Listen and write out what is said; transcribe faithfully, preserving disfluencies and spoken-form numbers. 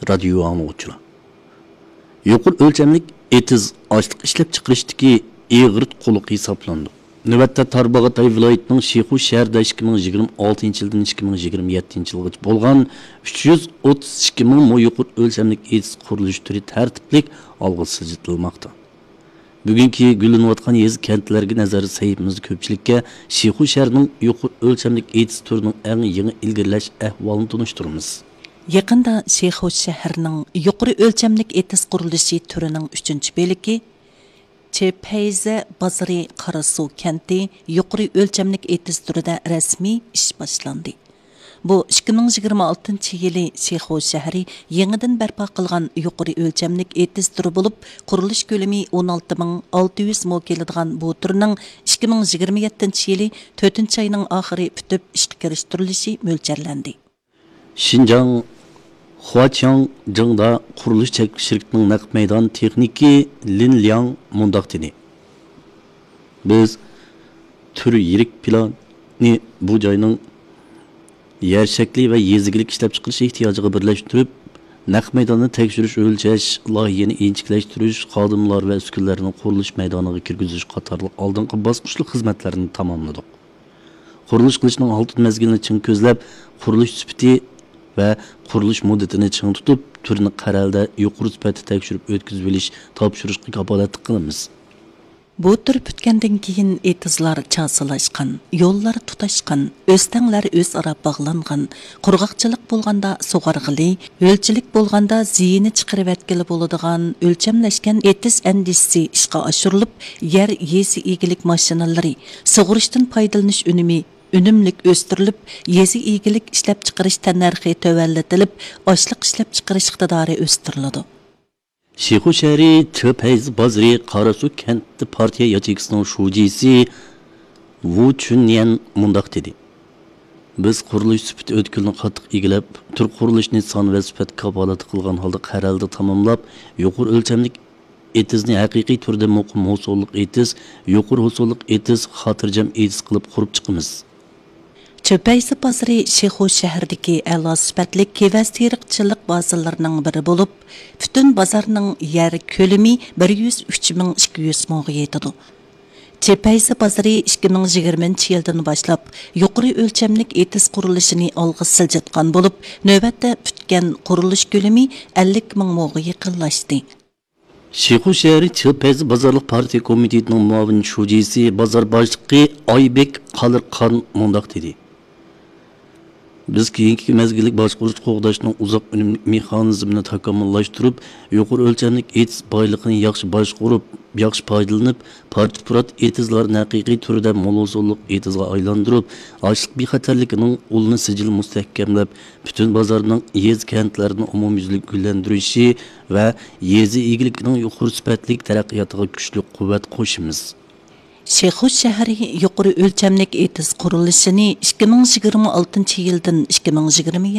رادىيو ئاڭلىغۇچىلار، يۇقىرى ئۆلچەملىك ئېتىز ئاشلىق ئىشلەپچىقىرىشتىكى ئېغىر قۇلىقى ھېسابلىنىدۇ. نۆۋەتتە تارباغاتاي ۋىلايىتىنىڭ شىخۇ شەھىرىدە ئىككى مىڭ يىگىرمە ئالتىنچى يىلدىن ئىككى مىڭ يىگىرمە يەتتىنچى يىلغىچە بولغان ئۈچ يۈز ئوتتۇز ئىككى مىڭ مو يۇقىرى ئۆلچەملىك ئېتىز قۇرۇلۇش تۈرى تەرتىپلىك ئالغا سىلجىتىلماقتا. بۈگۈنكى گۈللىنىۋاتقان يېزا، كەنتلەرگە نەزەر سەھىپىمىزدە كۆپچىلىككە شىخۇ شەھىرىنىڭ يۇقىرى ئۆلچەملىك ئېتىز تۈرىنىڭ ئەڭ يېڭى ئىلگىرىلەش ئەھۋالىنى تونۇشتۇرىمىز. يېقىندا شىخۇ شەھىرىنىڭ يۇقىرى ئۆلچەملىك ئېتىز قۇرۇلۇشى تۈرىنىڭ ئۈچىنچى بۆلىكى چېپەيزە بازىرى قاراسۇ كەنتى يۇقىرى ئۆلچەملىك ئېتىز تۈرىدە رەسمىي ئىش باشلاندى. بۇ ئىككى مىڭ يىگىرمە ئالتىنچى يىلى شىخۇ شەھىرى يېڭىدىن بەرپا قىلغان يۇقىرى ئۆلچەملىك ئېتىز تۈرى بولۇپ، قۇرۇلۇش كۆلىمى ئون ئالتە مىڭ ئالتە يۈز مو كېلىدىغان بۇ تۈرنىڭ ئىككى مىڭ يىگىرمە يەتتىنچى يىلى تۆتىنچى ئاينىڭ ئاخىرى پۈتۈپ ئىشقا كىرىشتۈرۈلۈشى مۆلچەرلەندى. شىنجاڭ خۇاچياڭ جىڭدا قۇرۇلۇش چەكلىك شىركىتىنىڭ نەق مەيدان تېخنىكى لىن لياڭ مۇنداق دېدى: بىز تۈر يىرىك پىلانى بۇ جاينىڭ يەر شەكلى ۋە يېزا ئىگىلىك ئىشلەپچىقىرىش ئېھتىياجىغا بىرلەشتۈرۈپ، نەق مەيداندا تەكشۈرۈش، ئۆلچەش، لايىھەنى ئىنچىكىلەشتۈرۈش، خادىملار ۋە ئۈسكۈنىلەرنىڭ قۇرۇلۇش مەيدانىغا كىرگۈزۈش قاتارلىق ئالدىنقى باسقۇچلۇق خىزمەتلەرنى تاماملىدۇق. قۇرۇلۇش قىلىشنىڭ ئالتۇن مەزگىلىنى چىڭ كۆزلەپ، قۇرۇلۇش سۈپىتى ۋە قۇرۇلۇش مۇددىتىنى چىڭ تۇتۇپ، تۈرنى قەرەلدە يۇقىرى سۈپەتتە تەكشۈرۈپ ئۆتكۈزۈۋېلىش، تاپشۇرۇشقا كاپالەتلىك قىلىمىز. بۇ تۈر پۈتكەندىن كېيىن، ئېتىزلار چاسىلاشقان، يوللار تۇتاشقان، ئۆستەڭلەر ئۆزئارا باغلانغان، قۇرغاقچىلىق بولغاندا سۇغارغىلى، ھۆلچىلىك بولغاندا زىيىنى چىقىرىۋەتكىلى بولىدىغان ئۆلچەملەشكەن ئېتىز ئەندىزىسى ئىشقا ئاشۇرۇلۇپ، يەر يېزا ئىگىلىك ماشىنىلىرى، سۇغىرىشتىن پايدىلىنىش ئۈنۈمى ئۈنۈملۈك ئۆستۈرۈلۈپ، يېزا ئىگىلىك ئىشلەپچىقىرىش تەننەرخى تۆۋەنلىتىلىپ، ئاشلىق ئىشلەپچىقىرىش ئىقتىدارى ئۆستۈرۈلىدۇ. شىخۇ شەھىرى چېپەيزە بازىرى قاراسۇ كەنتى پارتىيە ياچېيكىسىنىڭ شۇجىسى ۋۇ چۈنيەن مۇنداق دېدى: بىز قۇرۇلۇش سۈپىتى ئۆتكىلىنى قاتتىق ئىگىلەپ، تۈر قۇرۇلۇشىنى سان ۋە سۈپەت كاپالەتلىك قىلغان ھالدا قەرەلدە تاماملاپ، يۇقىرى ئۆلچەملىك ئېتىزنى ھەقىقىي تۈردە مۇقىم ھوسۇللۇق ئېتىز، يۇقىرى ھوسۇللۇق ئېتىز، خاتىرجەم ئېتىز قىلىپ قۇرۇپ چىقىمىز. چۆپەيزە بازىرى شىخۇ شەھىرىدىكى ئەلا سۈپەتلىك كېۋەز تېرىقچىلىق بازىلىرىنىڭ بىرى بولۇپ، پۈتۈن بازارنىڭ يەر كۆلىمى بىر يۈز ئۈچ مىڭ ئىككى يۈز موغا يېتىدۇ. چۆپەيزە بازىرى ئىككى مىڭ يىگىرمىنچى يىلدىن باشلاپ يۇقىرى ئۆلچەملىك ئېتىز قۇرۇلۇشىنى ئالغا سىلجىتقان بولۇپ، نۆۋەتتە پۈتكەن قۇرۇلۇش كۆلىمى ئەللىك مىڭ موغا يېقىنلاشتى. شىخۇ شەھىرى چىلپەيزى بازارلىق پارتىيە كومىتېتىنىڭ مۇئاۋىن شۇجىسى، بازار باشلىقى ئايبېك قالىرخان مۇنداق دېدى: بىز كېيىنكى مەزگىللىك باشقۇرۇش قوغداشنىڭ ئۇزاق ئۈنۈملۈك مېخانىزمىنى تاكامۇللاشتۇرۇپ، يۇقىرى ئۆلچەملىك ئېتىز بايلىقىنى ياخشى باشقۇرۇپ، ياخشى پايدىلىنىپ، پارچە-پۇرات ئېتىزلارنى ھەقىقىي تۈردە مول ھوسۇللۇق ئېتىزغا ئايلاندۇرۇپ، ئاشلىق بىخەتەرلىكىنىڭ ئۇلىنى سىجىل مۇستەھكەملەپ، پۈتۈن بازارنىڭ يېزا، كەنتلەرنى ئومۇميۈزلۈك گۈللەندۈرۈشى ۋە يېزا ئىگىلىكىنىڭ يۇقىرى سۈپەتلىك تەرەققىياتىغا كۈچلۈك قۇۋۋەت قوشىمىز. شىخۇ شەھىرى يۇقىرى ئۆلچەملىك ئېتىز قۇرۇلۇشىنى ئىككى مىڭ يىگىرمە ئالتىنچى يىلدىن ئىككى مىڭ يىگىرمە